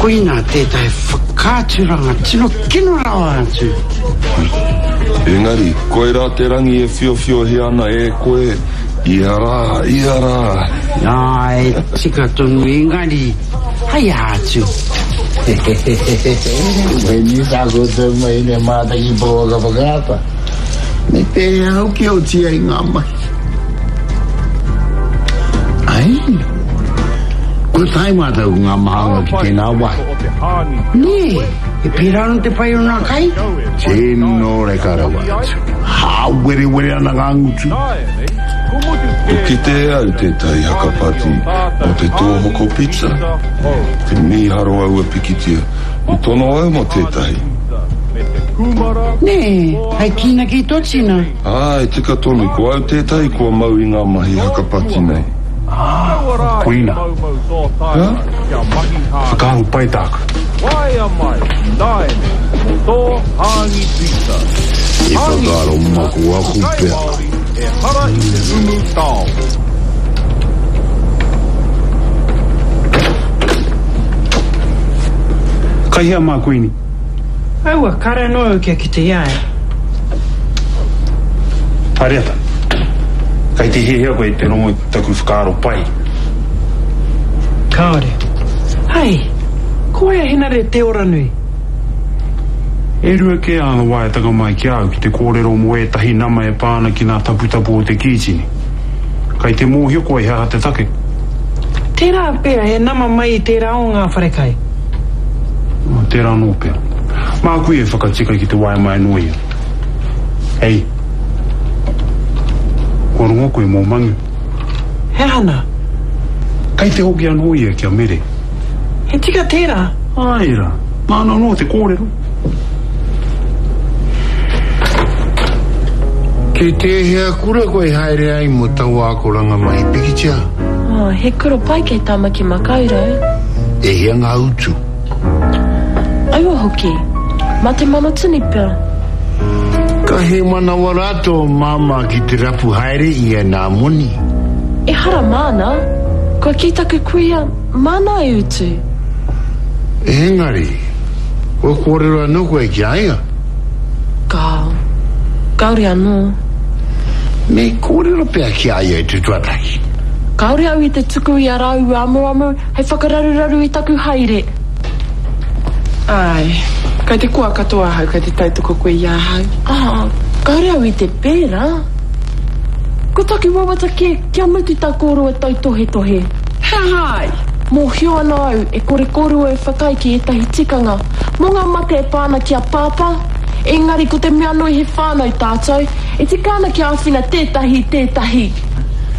Koinā tētahi whakaaturanga tino kino rawa atu. Engari, koirā te rangi e whiowhiohia ana e koe ia rā, ia rā. Āe, tika tonu, engari, hei aha atu? Koinei tā koutou mahi nei mātaki pouaka whakaata. Me pēhea hoki oti ai ngā mahi? Ai, kua tae mātou ko ngā mahanga ki tēnā wāhi. Nē, e pērā ana te pai o ngā kai? Tino reka rawa atu. Hāwerewere ana ngā ngutu. Kua kite e au tētahi haka pati mō te tōhoko pizza. Te mīharo aua pikitia. I tono au mō tētahi. Nē, hei kīnaki tō tina. Āe, tika tonu, ko au tētahi kua mau i ngā mahi haka pati nei. Ā, koina. Hā? Whakaaro pai tāku. I whakaaro makuaku pea. Kai hea mā Kuini? Aua, kāre anō au kia kite i a ia. Hariata, kei te hiahia koe te rongo i taku whakaaro pai? Kāore. Hei, ko wai a Henare Te Oranui? E rua kē āna waeatanga mai ki a au ki te kōrero mō ētahi nama e pā ana ki ngā taputapu o te kītini. Kei te mōhio koe he aha te take? Tērā pea he nama mai i tērā o ngā wharekai. Tērā anō pea. Māku ia e whakatika ki te waea mai anō ia. Hei. Kua rongo koe mō Mangu? He aha nā? Kei te hoki anō ia ki a Mere. He tika tērā? Āe rā. Māna anō te kōrero. Ki tēhea kura koe haere ai mō taua akoranga mahi pikitia? Oh, he kura pai kei Tamaki Makaurau. E hia ngā utu? Aua hoki. Mā te manatini pea. Ka hēmanawa rā tō māmā ki te rapu haere i ēnā moni. Ehara māna. Kua kī taku kuia, māna e utu. Engari, kua kōrero anō koe ki a ia? Kāo. Kāore anō. Me kōrero pea ki a ia i te tuatahi. Kāore au i te tuku i a rāua amuamu hei whakararuraru i taku haere. Āe. Kei te koa katoa ahau kei te tautoko koe i ahau. Ā, kāore au i te pērā. Ko taku wawata kē kia mutu tā kōrua tautohetohe. He aha ai? Mōhio ana au e kore kōrua e whakaae ki ētahi tikanga mō ngā mate e pā ana ki a Pāpā, engari ko te mea nui he whānau tātou, e tika ana kia āwhina tētahi i tētahi.